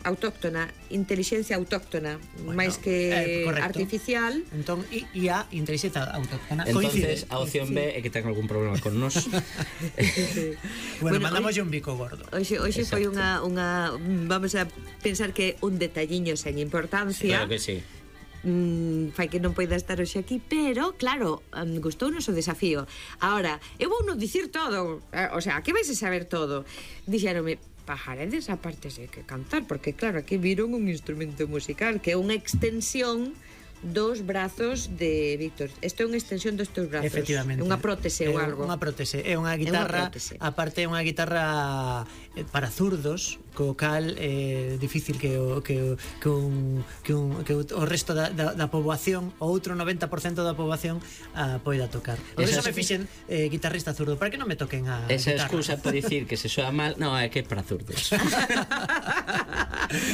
autóctona, inteligencia autóctona, máis que artificial. Entón, IA, inteligencia autóctona. Entonces, a opción B é que ten algún problema con nós. Bueno, mandamos un bico gordo. Hoxe foi unha vamos a pensar que un detalliño sen importancia. Claro que sí. Fai que non poida estar hoxe aquí, pero claro, gustounos o desafío. Ahora, eu vou non dicir todo, o sea, aquí vais a saber todo. Dixéronme, pajaredes aparte de que cantar, porque claro, aquí viron un instrumento musical que é unha extensión dos brazos de Víctor. Isto é unha extensión dos teus brazos. Efectivamente. Unha prótese ou algo. Unha prótese, é unha guitarra, aparte é unha guitarra para zurdos, co cal é difícil que o resto da poboación, o outro 90% da poboación poida tocar. Por eso me fixen guitarrista zurdo, para que non me toquen a esa guitarra. excusa para dicir que se soa mal, non, é que é para zurdos.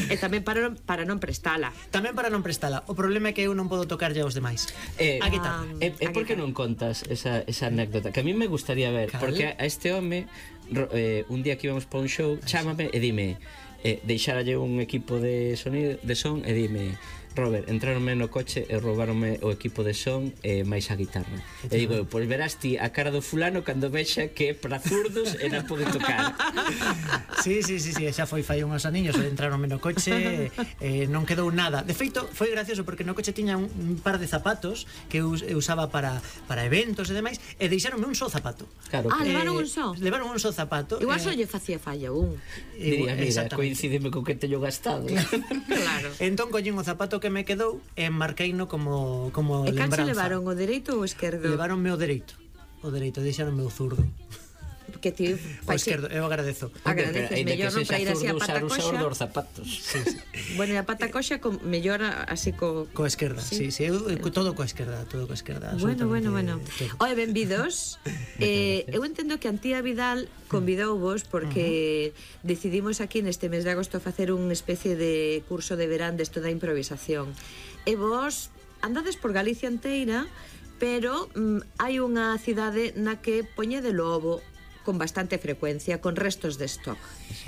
E tamén para non prestala. Tamén para non prestala. O problema é que eu non podo tocarlle aos demais. A guitarra. E por que non contas esa anécdota? Que a mí me gustaría ver, porque a este home un día que íbamos para un show, chámame e dime, deixáralle un equipo de sonido, de son, e dime, Robert, entraronme no coche e roubaronme o equipo de son e máis a guitarra. E digo, pois verás ti a cara do fulano cando vexa que é para zurdos e non pode tocar. Sí, xa foi fai unhos aniños, entraronme no coche e non quedou nada. De feito, foi gracioso porque no coche tiña un par de zapatos que eu usaba para eventos e demais, e deixaronme un só zapato. Claro, levaron un só? Levaron un só zapato. Igual só lle facía falla un. Diría, mira, coincidime con que teño gastado. Claro. Entón collín o zapato que me quedou e marqueino como lembranza. E lembranza. canse levaron o dereito ou o esquerdo? Levaronme o dereito, deixaronme o zurdo. Que ti o esquerdo, eu agradezo. Agradeces, mellor non para ir así a pata coxa. Usar os zapatos. Bueno, e a pata coxa mellor así co esquerda, sí, todo coa esquerda, Bueno. Oe, benvidos. Eu entendo que Antía Vidal convidouvos porque decidimos aquí neste mes de agosto facer unha especie de curso de verán desto da improvisación. E vos andades por Galicia inteira, pero hai unha cidade na que poñede lobo con bastante frecuencia, con restos de stock.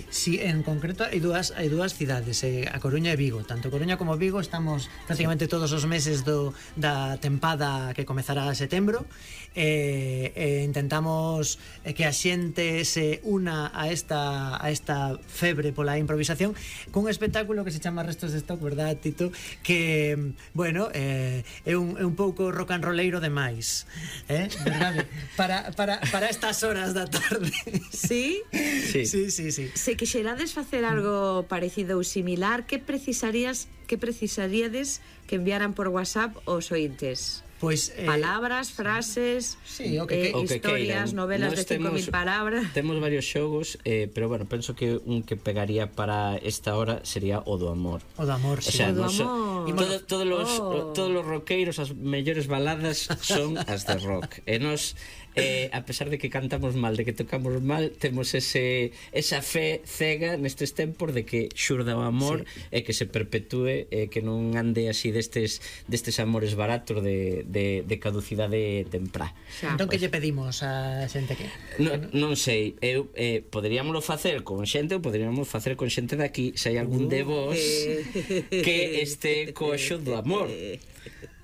Sí, en concreto hai dúas cidades, a Coruña e Vigo. Tanto Coruña como Vigo estamos prácticamente todos os meses da tempada que comezará a setembro, e intentamos que a xente se una a esta febre pola improvisación cun espectáculo que se chama Restos de Stock, verdad, Tito? Que, bueno, é un pouco rock and rolleiro demais, verdade? Para estas horas da tarde. Sí? Sí. Se quixerades facer algo parecido ou similar, que precisaríades que enviaran por WhatsApp os ointes? Pois, palabras, frases, historias, novelas de 5.000 palabras. Temos varios xogos, pero bueno, penso que un que pegaría para esta hora sería o do amor. O do amor, sí. O sea, todos os roqueiros, as mellores baladas son as de rock. E nos a pesar de que cantamos mal, de que tocamos mal, temos esa fe cega nestes tempos de que xurda o amor e que se perpetúe, que non ande así destes amores baratos de caducidade temprá. Entón, que lle pedimos a xente que? Non sei, poderíamoslo facer con xente ou poderíamos facer con xente daqui, se hai algún de vos que este coxo do amor.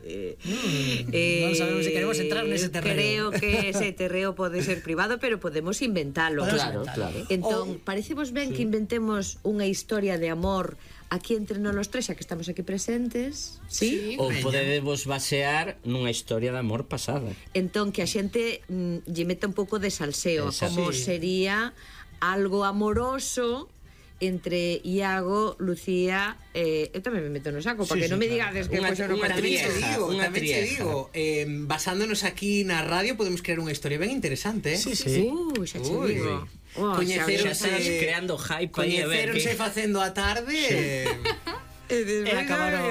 Non sabemos se queremos entrar nese terreo. Creo que ese terreo pode ser privado, pero podemos inventalo. Claro. Entón, parecemos ben que inventemos unha historia de amor aquí entre nós os tres, xa que estamos aquí presentes, sí? Ou podedevos basear nunha historia de amor pasada. Entón, que a xente lle meta un pouco de salseo, como sería algo amoroso entre Iago, Lucía, eu tamén me meto no saco, para que non me digades que unha digo, basándonos aquí na radio podemos crear unha historia ben interesante, Sí. Xa che digo. Coñeceronse creando hype, coñeceronse facendo a tarde. despois acabaron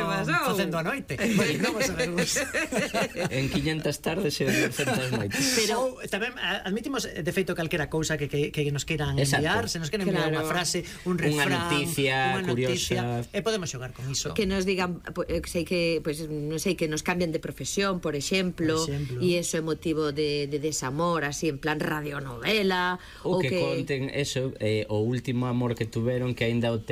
facendo a noite. Pois non o sabemos. En 500 tardes e 200 noites. Pero tamén admitimos de feito calquera cousa que nos queiran enviar, se nos queren enviar unha frase, un refrán, unha noticia curiosa, e podemos xogar con iso. Que nos digan, sei que, pues, non sei, que nos cambien de profesión, por exemplo, e iso é motivo de desamor, así en plan radionovela, ou que conten eso, o último amor que tuveron, que aínda o teñen